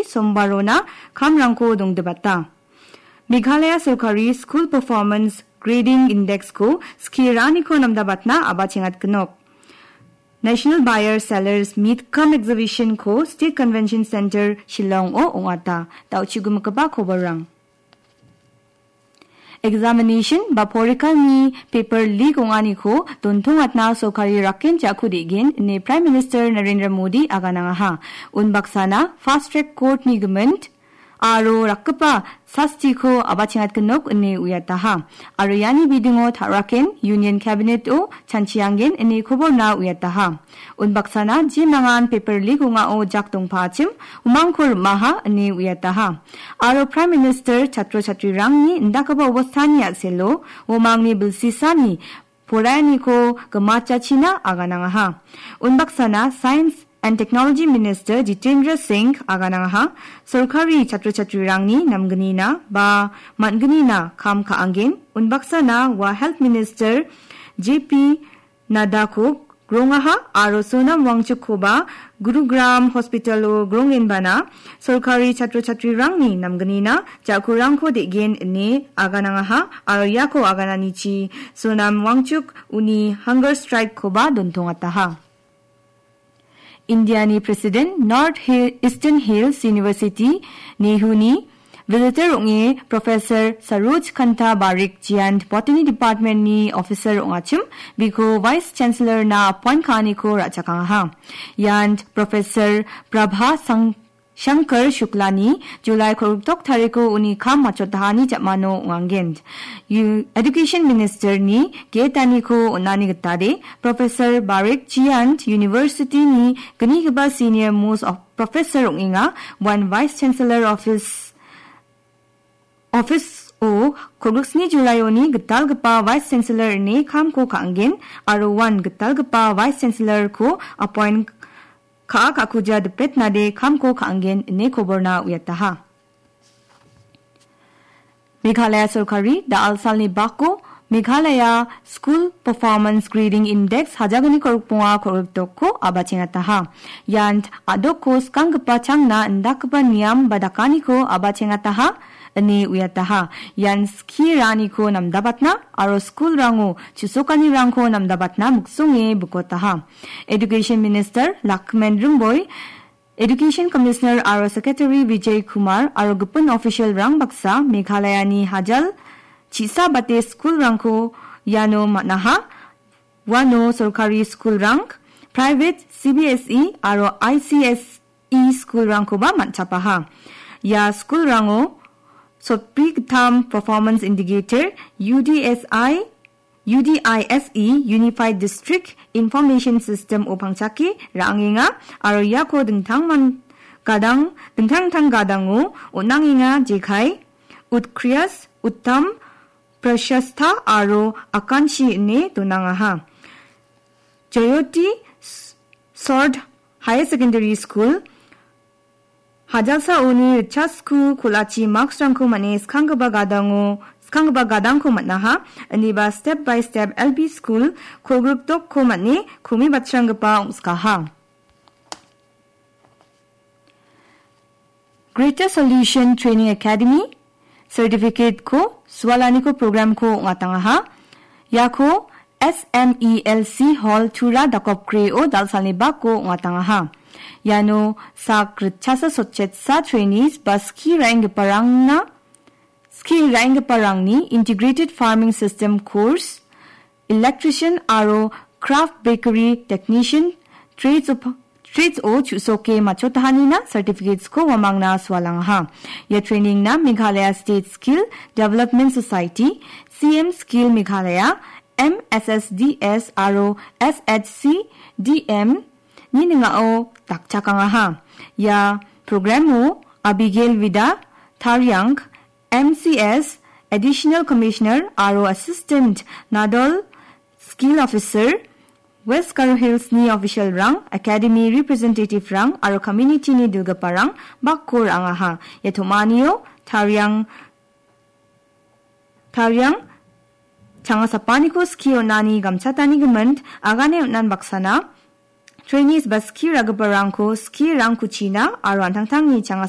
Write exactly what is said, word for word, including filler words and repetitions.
sombarona kamrangko dongdibata. Meghalaya sorkari School Performance Grading Index-ko skie ra·aniko namdabatna abachengatgenok. National Buyer Sellers Meet cum Exhibition-ko State Convention Center Shillong-o ong·ata. Da·o chu·gimigipa koborrang. Examination ba porikalni paper leak ong·aniko dontongatna sorkari rakken jako de·gen ine Prime Minister Narendra Modi aganangaha. Unbaksana Fast Track Court-ni gimint aro rakgipa sastiko abachengatgenok ine uiataha. Aro iani bidingo ta·raken Union Cabinet-o chanchianggen ine koborna uiataha. Unbaksana jemangan paper leak ong·ao jak dongpaachim umangko rim·aha ine uiataha. Aro Prime Minister chatro chatrirangni indakgipa obostani a·selo uamangni bilsisani poraianiko gimachachina aganangaha. Unbaksana Science and Technology Minister Jitendra Singh aganangaha, sorkari chatro chatrirangni namgnina ba man·gnina kam ka·angen. Unbaksana ua Health Minister J P Nadako grongaha aro Sonam Wangchukkoba Gurugram Hospital-o grongenbana sorkari chatro chatrirangni namgnina ja·kurangko de·gen ine aganangaha aro iako agananichi Sonam Wangchuk uni hunger strike-koba dontongataha. Indiani President North Hill, Eastern Hills University, NEHU-ni visitor ong·e Professor Saroj Kanta Barik Jayant Botany Department-ni officer ong·achim, biko Vice Chancellor-na appoint ka·aniko ra·chakangaha. Ian Professor Prabha Sang-, Shankar Shuklani July kolgrikdok tariko uni kam machotahani jamano ong·angen. U-, Education Minister-ni getaniko on·ani gitade, Professor Barik Jayant University-ni gnigipa senior most of professor ong·enga, uan Vice Chancellor Office, Office-o kolgriksni July-oni gitalgipa Vice Chancellor ine kamko ka·angen, aro uan gitalgipa Vice Chancellor-ko appoint ka·a ka·kuja dipetnade kamko ka·angen ine koborna uiataha. Meghalaya sorkari da·al salni bako Meghalaya School Performance Grading Index hajagniko rikbonga kolgrikdokko abachengataha. Ian a·dokko skanggipa changna indakgipa niam ba dakaniko abachengataha ine uiataha. Ian skie ra·aniko namdabatna aro skulrango chu·sokanirangko namdabatna miksonge bikotaha. Education Minister Lakmen Rymboi, Education Commissioner aro Secretary Vijay Kumar aro gipin official-rang baksa Meghalayani hajal chisa bate skulrangko iano man·aha. Uano sorkari skulrang, private, C B S E aro I C S E skulrangkoba man·chapaha. Ia skulrango sotbri gittam Performance Indicator, U D S I, U D I S E, Unified District Information System-o pangchake ra·angenga aro iako dingtangman gadang, dingtang dingtang gadango on·angenga, jekai, Utkriyas, Uttam, Prashastha aro Akanshi ine donangaha. Jayoti S-, Sord Higher Secondary School, hajalsa uni ritchasku kolachi marks-rangko man·e skanggipa gadango, skanggipa gadangko man·aha. Iniba step by step L P school kolgrikdokko man·e komi batsranggipa ong·skaha. Greater Solution Training Academy certificate-ko sualaniko program-ko ong·atangaha. Iako S M E L C Hall Tura Dakopkre-o da·al salni bako ong·atangaha. Iano sak ritchasa sotchetsa trainees ba skie ra·enggiparangna, skie ra·enggiparangni Integrated Farming System Course, Electrician aro Craft Bakery Technician trades-o, trades-o chu·soke machotahanina certificates-ko uamangna sualangaha. Ia training-na Meghalaya State Skill Development Society, C M Skill Meghalaya, M S S D S aro S H C D M-ni ning·ao dakchakangaha. Ia program-o Abigail Vida Tariang, M C S, Additional Commissioner aro Assistant Nodal Skill Officer, West Garo Hills-ni official-rang, Academy representative-rang aro community-ni dilgiparang bako ra·angaha. Ia tom·anio tariang, tariang changasapaniko skie on·ani gamchatani gimint agane on·an baksana, trainees ba skie ra·giparangko skie rangkuchina aro an·tangtangni changasa